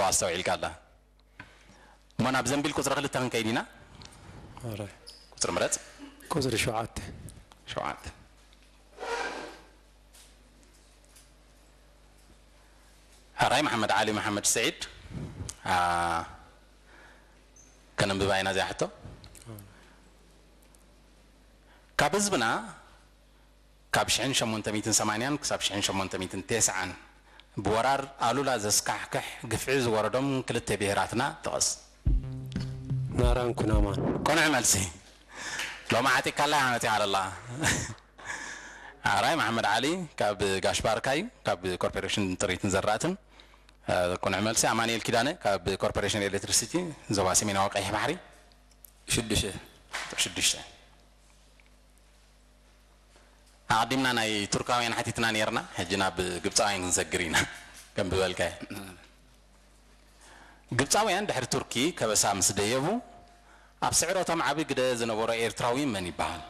ኣስተውዒልካ ኣላ። እሞ ናብ ዘንቢል ቁፅሪ ክልተ ክንከይድ ኢና። ኣራይ ቁፅሪ ምረፅ። ቁፅሪ ሸውዓተ ሸውዓተ። ሕራይ መሓመድ ዓሊ መሓመድ ስዒድ። አ፣ ከነንብባ ኢና እዚኣ ሕቶ። ካብ ህዝብና ካብ ሽሕን ሸሞንተ ሚእትን ሰማንያን ክሳብ ሽሕን ሸሞንተ ሚእትን ተስዓን ብወራር ኣሉላ ዘስካሕክሕ ግፍዒ ዝወረዶም ክልተ ብሄራትና ጥቐስ። ናራን ኩናማን ቅኑዕ መልሲ። ሎሚ ዓጢካላ እያ መፂኣ ኣላ። ሕራይ መሓመድ ዓሊ ካብ ጋሽ ባርካ እዩ፣ ካብ ኮርፖሬሽን ጥሪትን ዘራእትን። እ፣ ቅኑዕ መልሲ። ኣማኑኤል ኪዳነ ካብ ኮርፖሬሽን ኤሌክትሪሲቲ ዞባ ሰሜናዊ ቀይሕ ባሕሪ። ሽዱሽተ ሽዱሽተ። ኣቐዲምና ናይ ቱርካውያን ሓቲትና ነይርና፣ ሕጂ ናብ ግብፃውያን ክንሰግር ኢና። ከም ዝበልካዮ፣ ግብፃውያን ድሕሪ ቱርኪ ከበሳ ምስ ደየቡ፣ ኣብ ስዕረቶም ዓቢ ግደ ዝነበሮ ኤርትራዊ መን ይበሃል?